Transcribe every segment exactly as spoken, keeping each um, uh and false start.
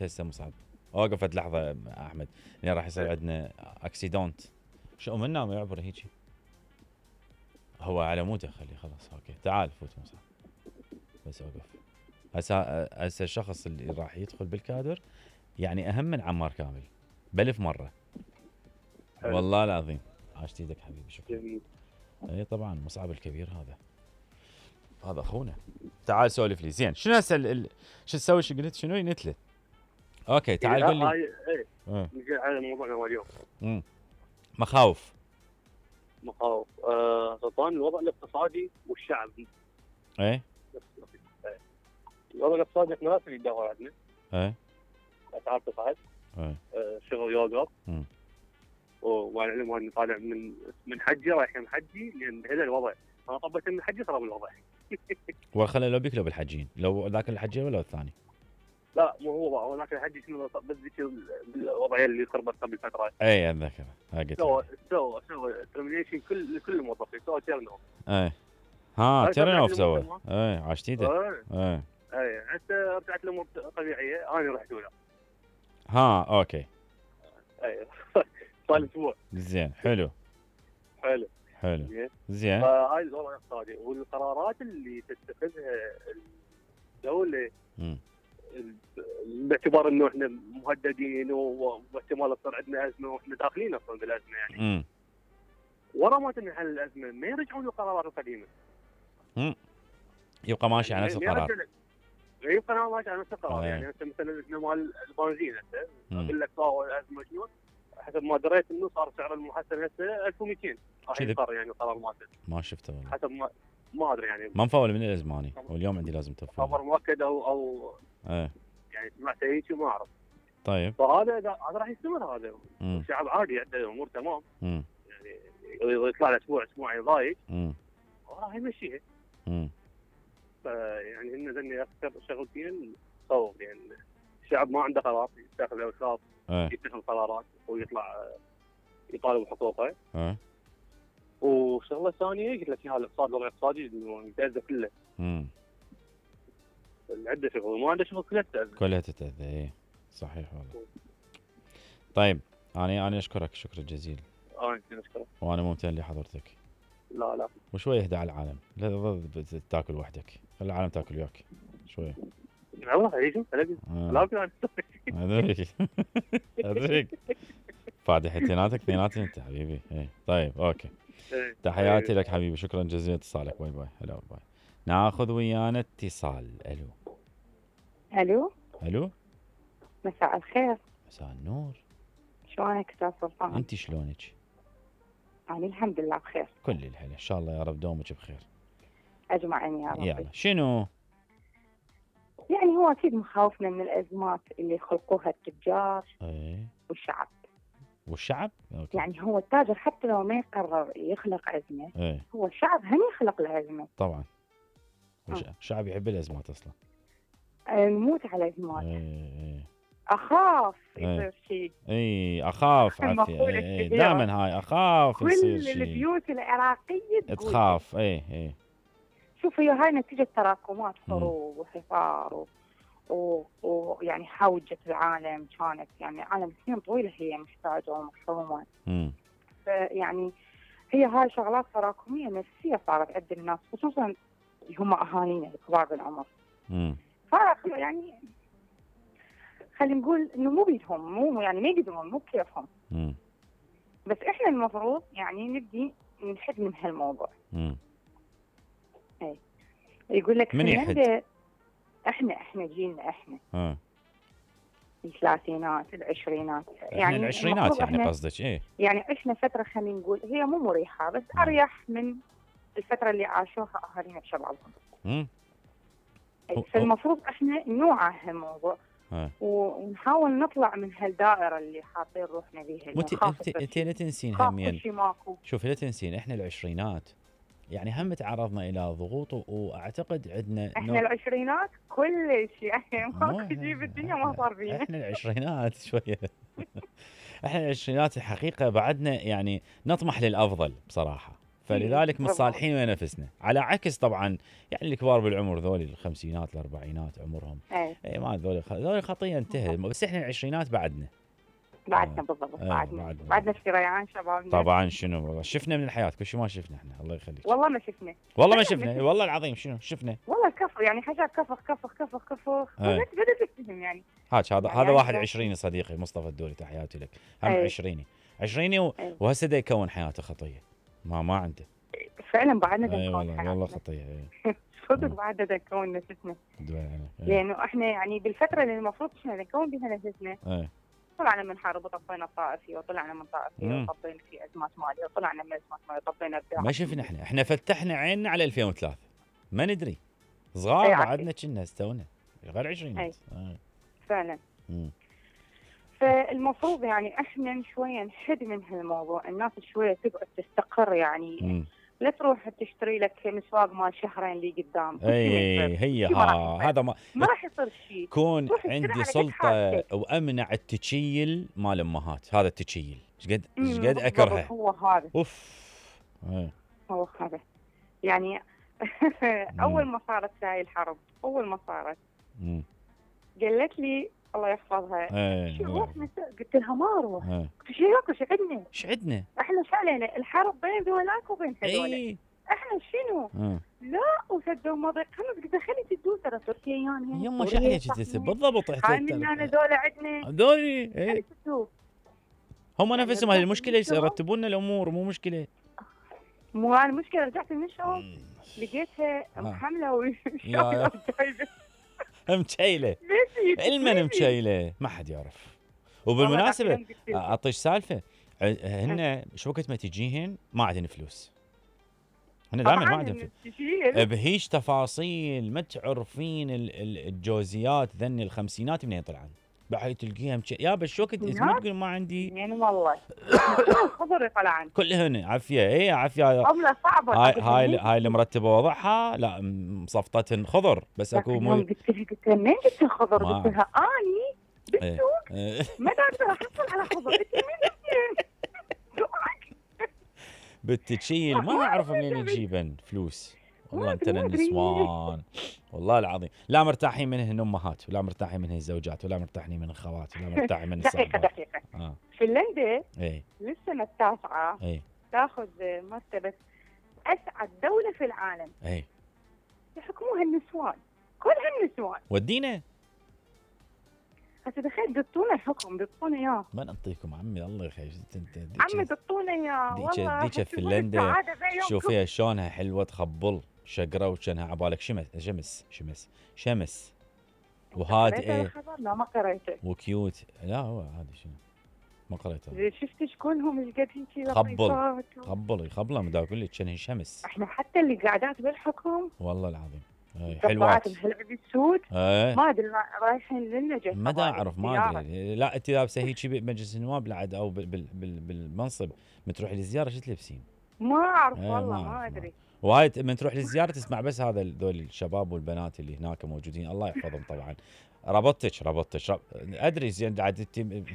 هسه مصعب وقفت لحظه احمد يعني راح يصير عندنا اكسيدونت شو منا ما يعبر هيجي هو على موته خليه خلاص اوكي تعال فوت مصعب بس اوقف هسه هسه الشخص اللي راح يدخل بالكادر يعني اهم من عمار كامل بألف مره حلو. والله العظيم عاشت ايدك حبيبي شكرا جميل. اي طبعا مصعب الكبير هذا هذا اخونا تعال سولف لي زين شنو هسه ال... شو تسوي شو قلت شنو نتله اوكي تعال قول لي هاي ايه نجي على موضوعنا اليوم امم مخاوف مخاوف آه سلطان الوضع الاقتصادي والشعبي ايه الوضع الاقتصادي احنا ناس اللي يدور عندنا ايه اسعار تصعد ايه آه شغل يوقف وعلى العلم انه طالع من من حجي رايح من حجي لان هذا الوضع انا طبيت من حجي صار بالوضع وخلى لو بيك لو بالحجين لو ذاك الحجي ولا الثاني لا مو هو هو ذاك الحجي شنو بس ذيك الوضعيه اللي خربت قبل فتره اي اتذكر هاي قلت سوى سوى سوى ترمينيشن كل كل الموظفين سوى تيرن اوف اي ها تيرن اوف سوى اي عاشت ايده اي اي حتى رجعت الامور طبيعيه انا رحت ولا ها اوكي اي صار اسبوع زين حلو حلو حلو زين فهاي الوضع الاقتصادي والقرارات اللي تتخذها الدوله امم باعتبار انه احنا مهددين واحتمال تصير عندنا ازمه واحنا داخلين اصلا بالازمه يعني امم ورا ما تنحل الازمه ما يرجعون للقرارات القديمه امم يبقى ماشي على نفس القرار يبقى ماشي على نفس القرار يعني هسه مثلا احنا مال البنزين هسه اقول لك صار الازمه شنو حسب ما دريت انه صار سعر المحسن هسه ألف ومئتين راح يصير يعني قرار ماده ما شفته والله حسب ما ما ادري يعني ما مفول من الازماني واليوم عندي لازم تفول خبر مؤكد او او ايه يعني سمعت هيك ما اعرف طيب فهذا هذا راح يستمر هذا الشعب عادي عنده الامور تمام امم يعني يطلع له اسبوع اسبوعين ضايق امم راح يمشيها امم فيعني هن ذني اكثر شغلتين خوف يعني الشعب ما عنده قرار يتخذ اوقاف يتخذ قرارات ويطلع يطالب بحقوقه اه وشغله ثانيه قلت لك اياها الاقتصاد الوضع الاقتصادي متاذى كله امم عنده شغل وما عنده شغل كلها تتاذى كلها تتاذى ايه صحيح والله طيب انا انا اشكرك شكرا جزيلا انا اشكرك وانا ممتن لحضرتك لا لا وشويه اهدى على العالم لا تظل تاكل وحدك خلي العالم تاكل وياك شويه والله يجوا لا لا ادري ادري فادح اثنيناتك اثنيناتي انت حبيبي ايه طيب اوكي تحياتي لك حبيبي شكرا جزيلا اتصالك باي باي هلا باي ناخذ ويانا اتصال الو الو الو مساء الخير مساء النور شلونك استاذ سلطان انت شلونك انا الحمد لله بخير كل الحلا ان شاء الله يا رب دومك بخير اجمعين يا رب يلا شنو يعني هو اكيد مخاوفنا من الازمات اللي يخلقوها التجار ايه والشعب والشعب أوكي. يعني هو التاجر حتى لو ما يقرر يخلق ازمه ايه؟ هو الشعب هم يخلق الازمه طبعا الشعب يحب الازمات اصلا نموت على الازمات ايه ايه اخاف ايه يصير شيء اي اخاف عافيه ايه دائما هاي اخاف يصير شيء كل البيوت العراقيه تخاف ايه ايه شوف هي هاي نتيجه تراكمات حروب وحصار ويعني و... حوجة العالم كانت يعني عالم سنين طويلة هي محتاجة ومحرومة فيعني هي هاي شغلات تراكمية نفسية صارت عند الناس خصوصا هم أهالينا الكبار بالعمر ف يعني خلينا نقول إنه مو بيدهم مو يعني ما يقدرون مو بكيفهم بس إحنا المفروض يعني نبدي نحد من هالموضوع اي يقول لك من يحد؟ احنا احنا جيلنا احنا اه الثلاثينات العشرينات يعني العشرينات يعني قصدك ايه يعني عشنا فتره خلينا نقول هي مو مريحه بس آه. اريح من الفتره اللي عاشوها اهالينا بشبابهم امم فالمفروض احنا نوعى هالموضوع آه. ونحاول نطلع من هالدائره اللي حاطين روحنا بيها انت انت لا تنسين همين شوف لا تنسين احنا العشرينات يعني هم تعرضنا الى ضغوط واعتقد عندنا احنا نوع... العشرينات كل شيء يعني ماكو شيء بالدنيا ما صار فيها احنا العشرينات شويه احنا العشرينات الحقيقه بعدنا يعني نطمح للافضل بصراحه فلذلك متصالحين ويا نفسنا، على عكس طبعا يعني الكبار بالعمر ذولي الخمسينات الاربعينات عمرهم اي اي ما ذولي ذولي خطيه انتهى، بس احنا العشرينات بعدنا بعدنا بالضبط ايه بعدنا بعدنا. بعدنا شريان شبابنا. طبعا شنو والله شفنا من الحياه كل شيء ما شفنا احنا الله يخليك. والله ما شفنا والله ما شفنا والله العظيم شنو شفنا والله كفر يعني حاجات كفر كفر كفر كفر ايه. بدأت بدأت تفهم يعني هاج هذا يعني هذا واحد يعني عشريني صديقي مصطفى الدولي تحياتي لك هم ايه. عشريني عشريني و... ايه. وهسه دا يكون حياته خطيه ما ما عنده فعلا بعدنا اي نكون والله حياتنا. والله خطيه اي صدق بعدنا نكون نفسنا دول عليك. ايه. لانه احنا يعني بالفتره اللي المفروض احنا نكون بها نفسنا ايه. طلعنا من حرب وطفينا الطائفي وطلعنا من طائفي مم. وطفينا في ازمات ماليه وطلعنا من ازمات ماليه وطفينا بداعي. ما شفنا احنا احنا فتحنا عيننا على ألفين وثلاثة ما ندري صغار اي بعدنا كنا استونا غير عشرينات ايه. فعلا مم. فالمفروض يعني احنا شويه نحد من هالموضوع، الناس شويه تقعد تستقر يعني مم. لا تروح تشتري لك مسواق مال شهرين اللي قدام. اي هي شي ما راح ها يصير. هذا ما ما راح يصير شيء. كون روح اشتري عندي على قد سلطه حاجتك. وامنع التشيل مال امهات، هذا التشيل ايش قد أمم، ايش قد بالضبط، اكرهه هو هذا اوف ايه. هو هذا يعني اول ما صارت هاي الحرب اول ما صارت مم. قالت لي الله يحفظها ايه. شو روح نساء؟ قلت لها ما اروح. ايه. قلت شو ياكل شو عندنا؟ ايش عندنا؟ احنا شو علينا؟ الحرب بين ذولاك وبين هذول. اي احنا شنو؟ اه. لا وسدوا مضيق خلص قلت خلي تدوس ترى تركيا يعني يما شو عليك تسب بالضبط هاي من هنا ذولا عندنا هذولي خلي ايه. تدوس. هم يعني نفسهم هاي رجعت المشكله من الشغل. يرتبون لنا الامور مو مشكله. مو هاي المشكله رجعت من الشغل مم. لقيتها آه. محمله يا- وشايله وجايبه مشيله ليش المن مشيله ما حد يعرف. وبالمناسبه اعطيش سالفه هن شو وقت ما تجيهن ما عندهن فلوس، هن دائما ما عندهم فلوس بهيج تفاصيل ما تعرفين ال- ال- الجوزيات ذني الخمسينات منين طلعن بحي تلقيها مش... يا بس شو وقت ما تقول ما عندي يعني والله خضر طلعن كلهن عافيه اي عافيه عمله صعبه. هاي هاي هاي اللي مرتبه وضعها لا مصفطتهن خضر بس اكو مو قلت لها قلت لها منين جبت الخضر؟ ما قلت لها اني إيه. بالسوق إيه. ما قادره احصل على خضر. قلت لها من جبتين؟ بالتشيل ما اعرف منين تجيبن فلوس والله ما انت أدري، ما أدري. النسوان والله العظيم لا مرتاحين منهن امهات ولا مرتاحين منهن الزوجات ولا مرتاحين من الخوات ولا مرتاحين من دقيقه الصحبات. دقيقه اه فنلندا اي للسنه التاسعه اي تاخذ مرتبه اسعد دوله في العالم اي يحكموها النسوان كلها النسوان. ودينا هسه تخيل دطونا الحكم دطونا اياه ما نعطيكم عمي الله يخليك انت عمي دطونا اياه ديك والله ديك فنلندا شوفيها شلونها حلوه تخبل شقره وكانها عبالك شمس شمس شمس شمس وهادئه لا ما قريته وكيوت. لا هو هذا شنو ما قريته إذا شفت شكونهم ايش قد هيك خبل. لطيفات و- خبل يخبله ما اقول لك كانها شمس احنا حتى اللي قاعدات بالحكم والله العظيم اي طبعات حلوات بهالعب السود ايه ما ادري رايحين لنا جاي ما دا طبعاً اعرف ما زيارة. ادري لا انت لابسه هيك بمجلس النواب بعد او بال بال بال بالمنصب من تروح للزياره شو تلبسين؟ ما اعرف إيه، والله ما ما أعرف، ادري وهاي من تروح للزياره تسمع بس هذا ذول الشباب والبنات اللي هناك موجودين الله يحفظهم طبعا. ربطتك ربطتك رب... ادري زين عاد انت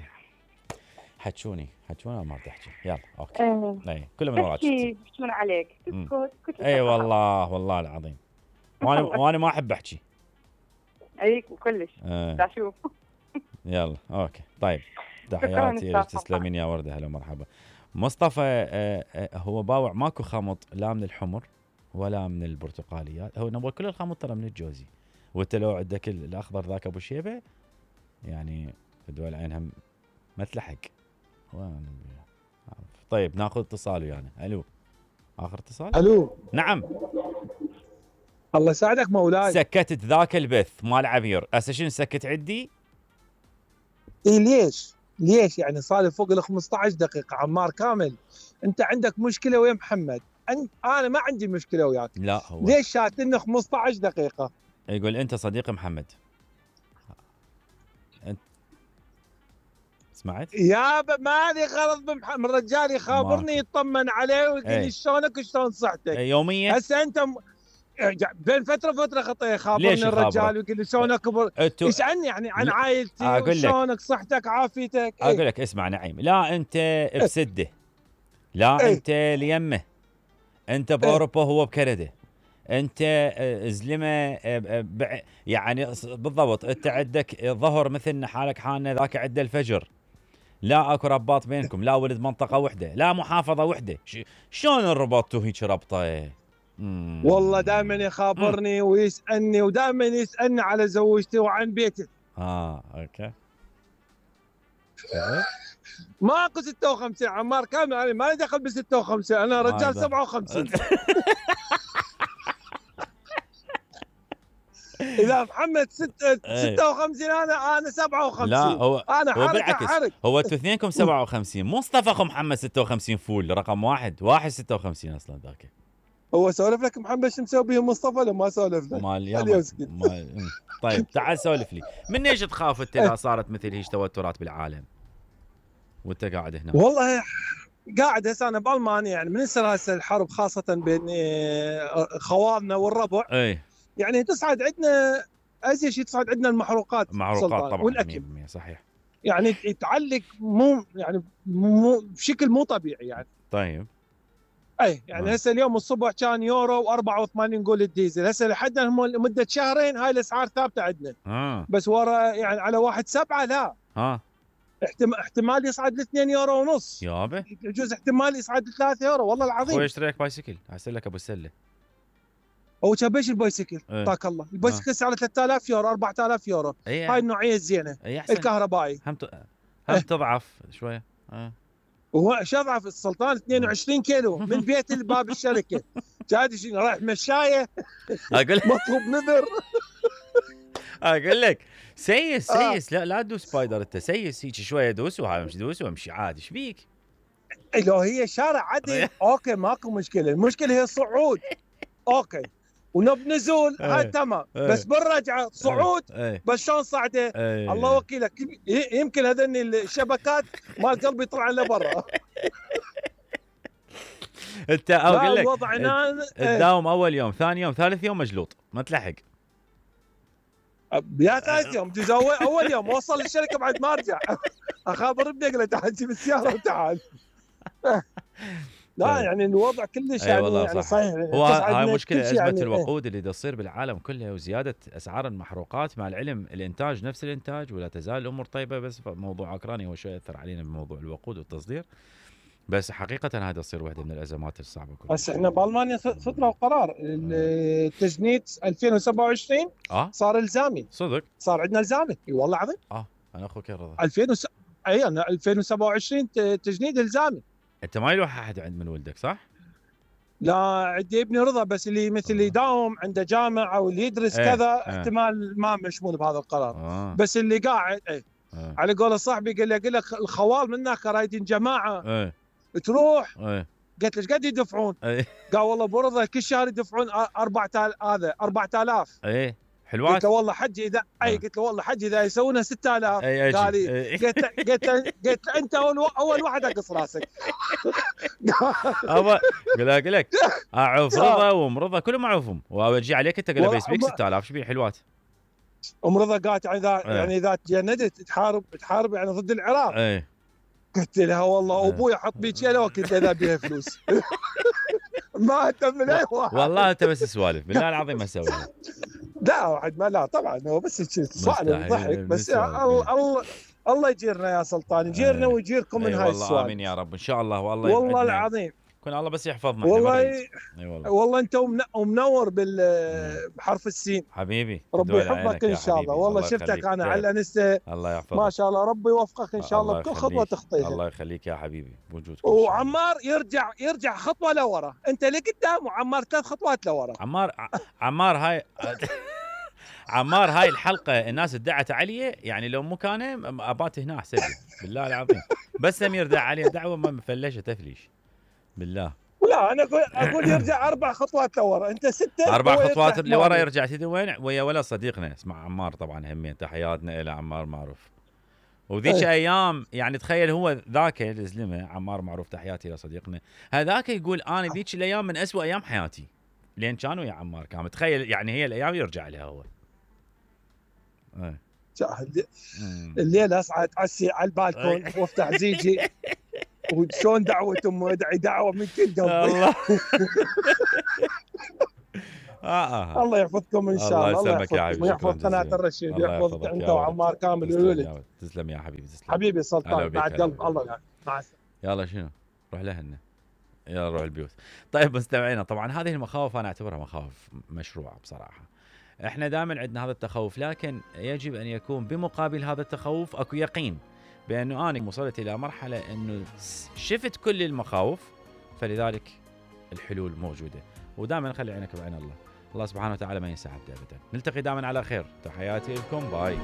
حتشوني حتشوني ما تحكي يلا اوكي ايه اي كله من وراك تحكي يحكون عليك مم. تسكت كنت اي والله والله العظيم وانا وانا ما احب احكي اي كلش آه. دا شوف يلا اوكي طيب تحياتي لك تسلمين يا ورده هلا مرحبا. مصطفى آه آه هو باوع ماكو خمط لا من الحمر ولا من البرتقاليات هو نبغى كل الخمط ترى من الجوزي وانت لو عندك الاخضر ذاك ابو شيبه يعني في دول عينها ما تلحق. طيب ناخذ اتصال ويانا. الو اخر اتصال. الو نعم الله يساعدك مولاي. سكتت ذاك البث مال عبير هسه شنو سكت عندي؟ اي ليش؟ ليش يعني صار لي فوق ال خمسطعش دقيقة عمار كامل. انت عندك مشكلة ويا محمد، انت انا ما عندي مشكلة وياك. لا هو ليش شاتلنا خمسطعش دقيقة؟ يقول انت صديق محمد. انت سمعت؟ يابا مالي غلط بمحمد، الرجال يخابرني يطمن عليه ويقول ايه. لي شلونك وشلون صحتك. يوميا هسه انت م... بين فترة فترة خطيه يخابرني الرجال ويقول لي شلونك بر... انتو ايش عني يعني عن لا. عائلتي أقول لك. وشلونك صحتك عافيتك. اقول ايه. لك اسمع نعيم لا انت بسده لا ايه. انت ليمه انت باوروبا هو بكندا، انت زلمه يعني بالضبط. انت عندك ظهر مثل حالك حالنا، ذاك عنده الفجر. لا اكو رباط بينكم، لا ولد منطقه وحده، لا محافظه وحده. شلون انربطتوا هيك ربطه؟ والله دائما يخابرني ويسالني، ودائما يسالني على زوجتي وعن بيتي. اه اوكي. ماكو ستة وخمسين عمار كامل، انا ما لي دخل ب ستة وخمسين، انا رجال سبعة وخمسين. اذا محمد ستة ستة وخمسين انا انا سبعة وخمسين. لا هو انا هو حركه حرك. هو انتوا اثنينكم سبعة وخمسين، مصطفى اخو محمد ستة وخمسين فول رقم واحد، واحد ستة وخمسين اصلا ذاك. هو سولف لك محمد شو مسوي به مصطفى ولا ما سولف لك؟ مال مال طيب تعال سولف لي، من ايش تخاف انت اذا صارت مثل هيك توترات بالعالم وانت قاعد هنا؟ والله قاعد هسه انا بالمانيا، يعني من يصير هسه الحرب خاصه بين خوالنا والربع. اي يعني تصعد عندنا ازيد شيء، تصعد عندنا المحروقات المحروقات طبعا والاكل مية بالمية صحيح. يعني تعلق مو يعني مو بشكل مو طبيعي يعني. طيب اي يعني هسه اليوم الصبح كان يورو وأربعة وثمانين نقول الديزل، هسه لحد مده شهرين هاي الاسعار ثابته عندنا. آه. بس ورا يعني على واحد سبعة لا اه احتمال يصعد ل اثنين يورو ونص يابا، يجوز احتمال يصعد ل ثلاثة يورو والله العظيم. اخوي اشتريك بايسكل ارسل لك ابو السله. هو كبيش البايسكل طاك ايه. الله، البايسكل سعره ثلاثة آلاف يورو أربعة آلاف يورو. ايه. هاي النوعيه الزينه ايه الكهربائي هم ت... هم ايه. تضعف شويه. اه وهو شضعف السلطان اثنين وعشرين كيلو من بيت لباب الشركه. جاد شنو رايح مشايه اقول مطلوب نذر. اقول لك سيس سيس. آه. لا لا تدوس سبايدر انت، سيس هيك شويه دوس وهاي مش دوس وامشي عادي. ايش بيك؟ لو هي شارع عدل اوكي ماكو مشكله، المشكله هي الصعود اوكي ونب نزول هاي تمام. بس بالرجعه صعود بس شلون صعده؟ الله وكيلك يمكن هذني الشبكات مال قلبي طلع لبرا. انت اقول لك تداوم اول يوم ثاني يوم ثالث يوم مجلوط ما تلحق. يا ثالث يوم تزوج اول يوم اوصل للشركه بعد ما ارجع اخابر ابني اقول له تعال جيب السياره وتعال. لا يعني الوضع كلش يعني, أي يعني صحيح. هو هاي مشكله ازمه يعني الوقود اللي تصير بالعالم كله وزياده اسعار المحروقات. مع العلم الانتاج نفس الانتاج ولا تزال الامور طيبه، بس موضوع اوكرانيا هو شوي اثر علينا بموضوع الوقود والتصدير. بس حقيقه هذا تصير واحده من الازمات الصعبه كلها. بس احنا بالمانيا صدروا قرار التجنيد ألفين وسبعة وعشرين اه صار الزامي. صدق صار عندنا الزامي اي والله العظيم. اه انا اخوك رضا ألفين وس... اي انا ألفين وسبعة وعشرين تجنيد الزامي. انت ما يروح احد عند من ولدك صح؟ لا عندي ابني رضا، بس اللي مثل اللي يداوم عنده جامعه واللي يدرس ايه كذا ايه احتمال ما مشمول بهذا القرار. آه. بس اللي قاعد ايه آه. على قول صاحبي قال لي قال لك الخوال منك رايدين جماعه ايه تروح ايه. قلت له ايش قد يدفعون؟ ايه. قال والله برضه كل شهر يدفعون أربعة آلاف هذا أربعة آلاف. ايه حلوات. قلت له والله حجي اذا اي قلت له والله حجي اذا يسوونها ستة آلاف. اي قال لي قلت له قلت له قلت له انت اول اول واحد اقص راسك. ابا قال لك اعوف رضا ومرضى كلهم اعوفهم واجي عليك انت قال بيس بيك ستة آلاف. ايش بيه حلوات؟ ام رضا قالت اذا يعني اذا تجندت تحارب تحارب يعني ضد العراق. اي قلت لها والله ابوي حط بيك يده وكنت اذا بيها فلوس. ما اهتم من اي واحد والله انت بس سوالف بالله العظيم ما اسويها. لا واحد ما لا طبعا هو بس صعب ضحك بس الله الله الله يجيرنا يا سلطان، يجيرنا ويجيركم من هاي السوالف. والله امين يا رب ان شاء الله. والله والله العظيم كون الله بس يحفظنا. والله اي والله والله انت ومنور بحرف السين حبيبي. ربي يحفظك ان شاء الله. والله شفتك انا على الانستا الله يحفظك ما شاء الله. ربي يوفقك ان شاء الله بكل خطوه تخطيها. الله يخليك يا حبيبي بوجودك. وعمار يرجع يرجع خطوه لورا، انت لقدام وعمار ثلاث خطوات لورا. عمار عمار هاي عمار هاي الحلقه الناس ادعت علي يعني لو مو كان ابات هنا احسن لي بالله العظيم. بس سمير دعا عليه دعوه ما مفلشه تفليش بالله. لا انا اقول اقول يرجع اربع خطوات لورا، انت سته اربع خطوات لورا يرجع. تدري وين؟ ويا ولا صديقنا اسمه عمار طبعا همين تحياتنا الى عمار معروف. وذيك أيه. ايام يعني تخيل هو ذاك الزلمه عمار معروف تحياتي الى صديقنا هذاك يقول انا ذيك الايام من أسوأ ايام حياتي لين كانوا يا عمار كان متخيل يعني هي الايام يرجع لها هو. ايه الليله اصعد عسي على البالكون وافتح زيجي وشلون دعوه امه ادعي دعوه من كل قلبي. الله آه آه. الله يحفظكم ان شاء الله. الله يسلمك يا حبيبي، ويحفظ قناه الرشيد ويحفظك انت وعمار كامل والولد. تسلم يا حبيبي تسلم حبيبي سلطان بعد قلب الله يعني. مع السلامه. يلا شنو روح لهنا يلا روح البيوت. طيب مستمعينا طبعا هذه المخاوف انا اعتبرها مخاوف مشروعه بصراحه. احنا دائما عندنا هذا التخوف، لكن يجب ان يكون بمقابل هذا التخوف اكو يقين بانه انا وصلت الى مرحله انه شفت كل المخاوف، فلذلك الحلول موجوده. ودائما نخلي عينك بعين الله، الله سبحانه وتعالى ما ينسى عبده ابدا. نلتقي دائما على خير، تحياتي لكم، باي.